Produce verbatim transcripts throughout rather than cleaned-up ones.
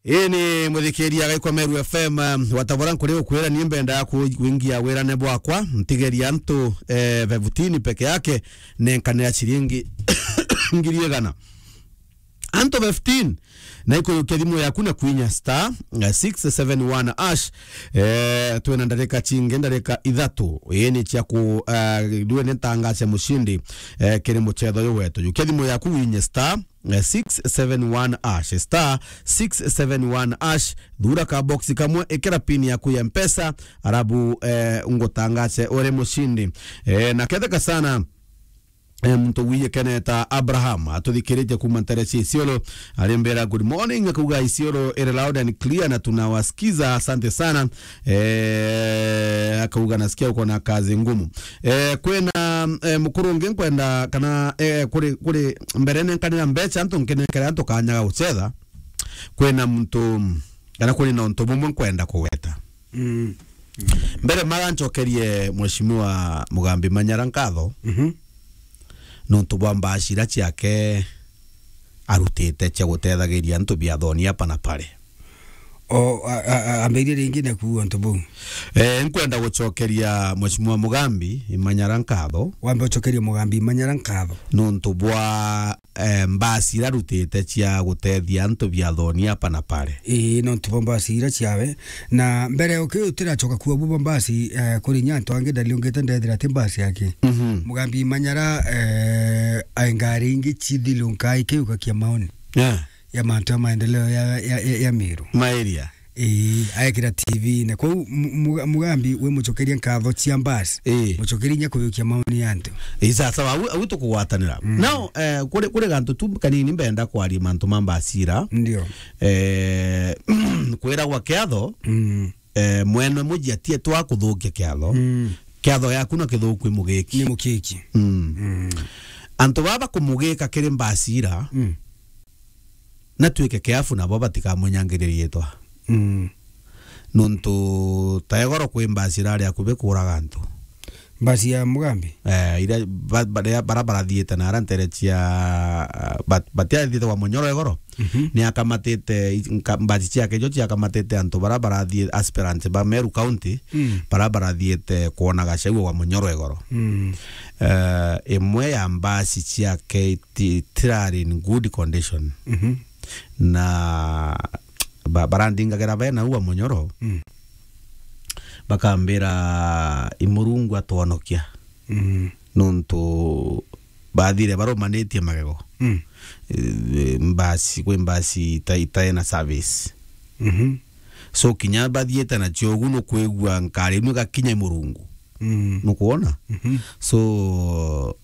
Ii ni muthikiria agaikwa Meru F M, um, watabora nkuri ukwira ni mbenda ku-, kuingia wirane bwakwa, ntigeria antu, eh, fifteen peke yake, nenkanira ciringi ngiri igana. Antu fifteen, na ikuyukia thimu yaku na kwinya star, eh, six seven one hash. Eh, twina ndarika cingi, ndarika ithatu. Ii ni cia ku, eh, ndue ni ntangace mushindi, eh, kiri mucetho uyu wetu. Yukia thimu yaku winye star, eh, six seven one hash, star six seven one hash, thura ka box kamwe, ikira pin yaku ya Mpesa, arabu, eh, ngutangace uri mushindi. Eh, na ketheka sana, eh, muntu wiye keneta Abraham, atuthikiritie kuma ntere cia Isiolo, arimbira, "Good morning," akauga, "Isiolo iri loud and clear na tunawasikiza, asante sana." Eh, akauga, "Nasikia uko na kazi ngumu." Eh, kwina, eh, mukuru ungi nkwenda kana, eh, kuri, kuri mbere nenkanira mbeca antu nkinengere antu kanya ga gucetha. Kwina muntu, kana kuri na untu bumwe nkwenda kugweta. Mm. Mbere mara ncokerie Mheshimiwa Mugambi Manyara nkatho, Mhm. nontu bwa mbaci ira ciake arutite cia gutethagiria antu biathoni apa na pare. O, a, a, a, ambiririe ringi na kuuga untu buu. Eh, nkwenda gucokeria Mheshimiwa Mugambi Manyara nkatho. Wambe ucokerie Mugambi Manyara nkatho. Nontu bwa, eh, mbaci ira arutite cia gutethia antu biathoni apa na pare. Ii, nontu bwa mbaci ira ciawe. Na mbere uki utiracoka kuuga buu bwa mbaci, eh, kuri inya antu angi ndariungite ndethira ti mbaci yake. Mhm. Mugambi Manyara, eh, ai ngari ingi cithilunka ikiugakia maoni. Yeah. Ya mantu ya maendeleo ya, ya, ya, ya Meru. Maeria. Ii, aekira T V-ine. Kwou Mu-, Muga-, Mugambi wi mucokerie nkatho cia mbasi. Ii. Mucokerie inya kuyukia maoni ya antu. Ii, sasa, au, au tukugwatanira. Mm. Now, eh, kuri, kuri gantu tu kanini mbenda kwaria mantu ma mbasi ira. Ndio. Eh, kwiragwa kiatho, Mm. eh, mwene muji atie twa kuthukia kiatho. Mm. Kiatho yaku na kithuku i mugiki. Ni mukiki. Mm. Mm. Antu baba kumugika kiri mbasi ira, Mm. na twike careful nabo batikamunyangiririe itwa. Mm. Nontu ta igoro kwi mbasi irari akubi kuuraga antu. Mbasi ya Mugambi? Eh, ira ba-, ba-, ria-, bara barathiite na ara ntere cia, bat-, batiathiite kwa Munyoro igoro. Mhm. Ni akamatite i-, nka-, mbasi ciake icio ciakamatite antu bara barathie aspirants ba Meru County, Mm. bara barathiite kwona Gachagua wa Munyoro igoro. Mm. Eh, imwe ya mbasi ciake iti-, itirari in good condition. Mhm. Na ba-, barandingagira bena ua Munyoro, Mm. bakambira, "I Murungu atwonokia." Mm. Nontu bathire barumanitie magego. Mm. Eh, mbasi, kwi mbasi ita-, itaena service. Mhm. So, kinya bathiite nacio ugu, nukwigua nkari inu igakinya i Murungu. Mm. Nukwona? Mhm. So,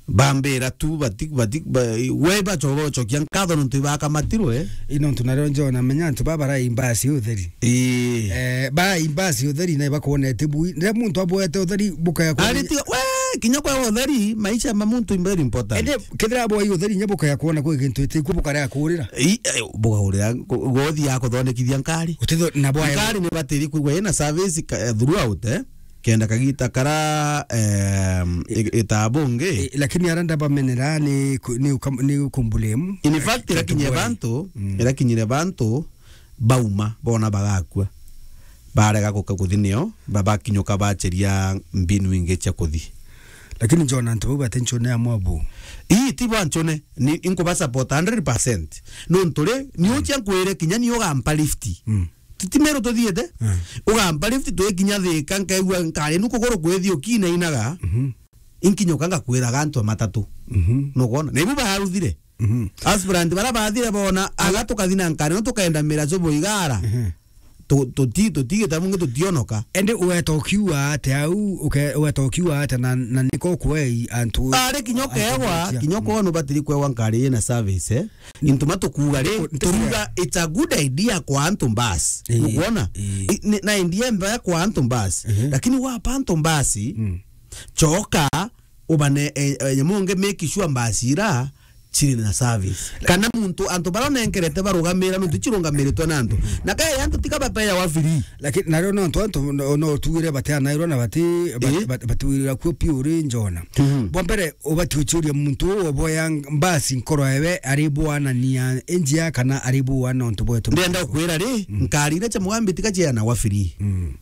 bambira tu, bati-, bati-, ba-, we bacoba ucokia nkatho nontu ibakamatirwe. I nontu nario njona menya antu baba barai mbasi utheri. Ii. Eh, barai mbasi utheri na ibakwonete bui. Riria muntu abwete utheri, bukaya kwona. Ari tiga, we, kinya kwa utheri, maisha ma muntu is very important. Ende, kethira abwai utheri, nya bukaya kwona kwi gintu itiku bukarea kurira. Ii, eh, bukaurira, ku-, gothi ya kuthondekithia nkari. Utitho-, na bwaya. Nkari ni batiri kwigua ina service ka-, eh, throughout, eh. Kenda kagita kara, em, i-, itabungi. I-, lakini ara ndabamenera ni ku-, ni uka-, ni kumbulemu. In fact, irakinyire bantu, Mm. irakinyire bantu, bauma, bona bagakua. Barega guka kuthi nio, ba-, bakinyuka bacheria mbinu ingi cia kuthi. Lakini njona antu bau bati nchone ya mwabu. Ii, ti ba nchone, ni, inkuba support hundred percent. Nontu ri, ni Mm. ucha nkwire kinya ni ugampa lift. Mm. Ti, ti Meru tuthiite. Mm. Ugampa lift twikinya Thika, nkaigua nkari nu kuguru kwithi ukina inaga. Mhm. Inkinyuka ngakwiraga antu a matatu. Mhm. Nukwona? Na ibu baruthire. Mhm. Aspirant bara bathire bona, aga tukathi na nkari, no tukaenda mira cubo igara. Mhm. Tu-, tuti-, tutigita bungi tutionoka. Ende ugeta ukiuga ate au, uke-, ugeta ukiuga ate na, na niko kwei antu. Ari kinya antu ukegwa, betia. Kinya Mm. ukono batiri kwegwa nkari ina service, eh? Into matukuga ri, Ntuku-, ntuku-, turuga it's a good idea kwa antu mbasi. Ii, Nukwona? Ii. I-, ni-, na idea mbaya kwa antu mbasi. Mhm. Lakini wapa antu mbasi, Mm. choka, ubane, eh, eh, nyamu nge make sure mbasi ira ciri na service. Kana muntu, antu bara nenkerete barugamira, nontu cirungamiritwe na antu. Na kaya antu tiga bapeawa free. Lakini nario nontu antu no, no tugire bateanairwa na bati, bat-, Eh? bat-, batiwirira kuo piu uri njona. Mhm. Bwa mbere, ubati ucuria muntu uu oboya mbasi nkoro ewe ari bwanania njia kana ari bwana nontu bwetu. Ndenda ukwira ri, Mm. nkari iria cia Mugambi tiga cianagwa free. Mm.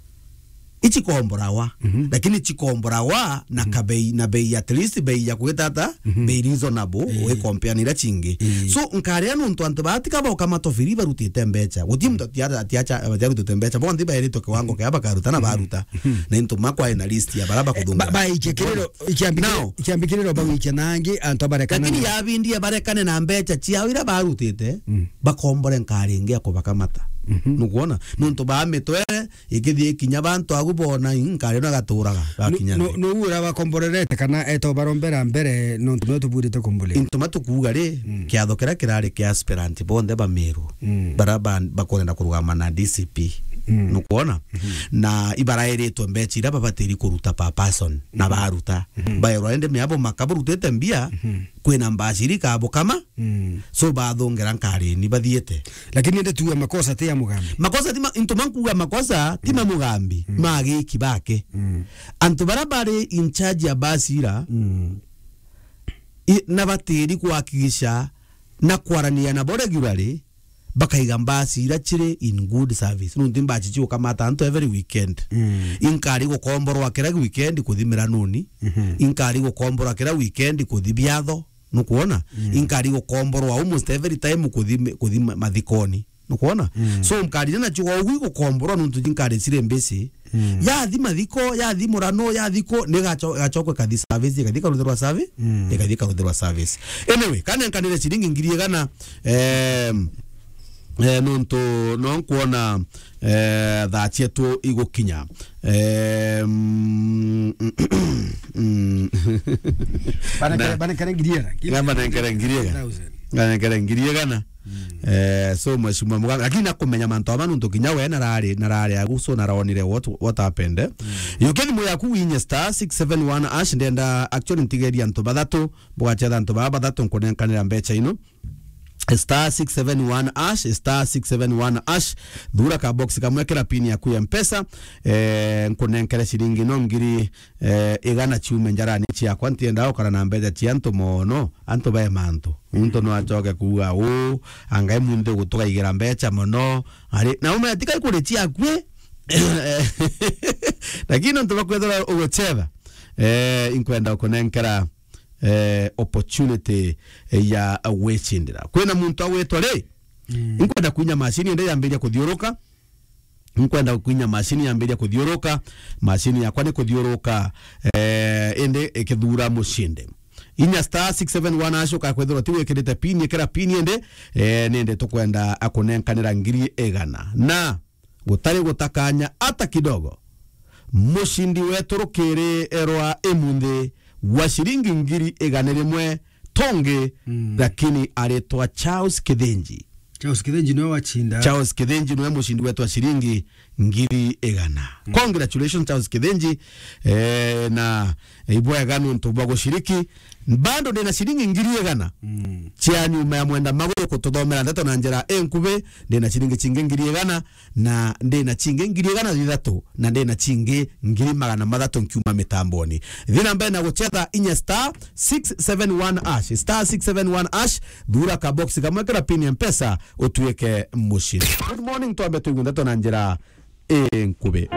Ici komborawa, Mhm. lakini cikomborawa na Mhm. kabei, na bei at least bei ya kwita ata, Mhm. bei reasonable, Eh. wi compare na iria cingi. Eh. So, nkaria nontu antu baa tiga boka matofiri barutite mbeca. Guti muntu ati-, ati-, atiacha, atiarutite mbeca, bonthe baeritwe kiwango kia bakaruta na Mhm. baruta. Mhm. Na into makwa ina list ya bara bakuthungira. Ba-, baikia kiriro, ikiambi Now, kiriro, ikiambi kiriro bagwikia nangi, antu barekana Lakini na yabindie barekane na mbeca ciao iria barutite, Mm. bakombore nkari ingi ya kubakamata. Mhm. Nukwona? Nontu baa mitwe, ikithie ikinya bantu agu boona, ii, nkari no gaturaga, Nu-, gakinya nu-, nthi. Nu ura bakomborerete kana eto barombera mbere nontu no tuburite kumbuli? Into matukuuga ri, Mm. kiatho kiria kirari kia aspirant bonthe ba Meru, Mm. bara ba-, bakurenda kurugama na D C P. Mm. Nukwona? Mhm. Na ibarairitwe mbeca iria babatiri kuruta per person, na Mhm. baruta. Mhm. Baerwa indi miabo maka burutite mbia, Mhm. kwina mbaciri kabukama. Mm. So bathungira nkarini bathiite. Lakini indi tuge makosa ti ya Mugambi. Makosa ti ma-, into mankuga makosa ti ma Mm. Mugambi, Mm. ma agiki bake. Mm. Antu bara bari in charge ya basi ira, Mm. i-, na batiri kuhakikisha na kwarania nabo regularly, bakaiga mbasi ira ciri in good service. Nontu mbasi ciukamata antu every weekend. Mm. Inkari gukomborwa kira weekend kuthi miranoni. Mhm. Inkari gukomborwa kira weekend kuthi biatho. Nukwona? Mm. Inkari gukomborwa almost every time kuthi mi-, kuthi ma-, mathikoni. Nukwona? Mm. So, nkari iria nacio gwa ugu igukomborwa nontu inkari ciri mbisi. Mm. Yathi mathiko, yathi murano, yathi ku, ni gacho-, gachokwe kathi service, ikathi karuthirwa servi-, Mm. ikathi karuthirwa service. Anyway, kana nkanire ciringi ngiri igana, em, eh, nontu no nkwona, eh, thaa cietu igukinya. Em, mm, mm. Banekere, Na banekere ngiri igana. Ngamba nenkere ngiri igana. Thousand. Nenkere ngiri igana. Mm. Eh, so, Mheshimiwa Mugambi, lakini nakumenya mantu ama nontu kinya we narari, narari agu, so naronire what, what happened, eh. Mm. Yukia thimu yaku winye star six seven one hash, ndenda actually ntigeria antu bathatu, bugachetha antu baba bathatu nkunenkanira mbeca ino. Star six seven one hash, star six seven one hash, thura ka box kamwe, kira pin yaku ya Mpesa, eh, nkunenkere ciringi no ngiri eh, igana ciume njarani ciakwa, ntiendaga gukara na mbeca cia antu mono, antu be mantu. Muntu no acoke kuuga, "Uu, angai muntu gutukaigira mbeca mono." Ari, na ume tika ikuri ciakue. Lakini nontu bakwethira uguchetha, eh, inkwenda kunenkera, eh, opportunity ya gwicindira. Kwina muntu agwitwa ri? Mm. Inkwenda kwinya macini ende yambiria kuthiuruka. Nkwenda kwinya macini yambiria kuthiuruka, macini yakwa ni kuthiuruka, eh, indi ikithura mucindi. Inya star six seven one hash, ukakwithirwa ti wikirite pin, ikira pin indi, eh, nindi tukwenda akunenkanira ngiri igana. Na gutari gutakanya ata kidogo, mucindi wetu rukiri rwa imunthi wa ciringi ngiri igana rimwe tongi, Mm. lakini aritwa Charles Kithinji. Charles Kithinji niwe wacinda. Charles Kithinji niwe mucindi wetu wa ciringi ngiri igana. Mm. Congratulations, Charles Kithinji. Eh, na ibwega nontu bwa guciriki. Bado ndina ciringi ngiri igana. Mm. Cia nyuma ya Mwenda Maguru kututhomera ndeto na njira inkubi, ndina ciringi cingi ngiri igana. Na ndina cingi ngiri igana thithatu, na ndina cingi ngiri magana mathatu nkiuma mitamboni. Thi na mbere na guchetha inya star six seven one hash, star six seven one hash, thura ka box kamwe kira pin ya Mpesa, utuike mucindi. Good morning, twambe tuigue ndeto na njira inkubi.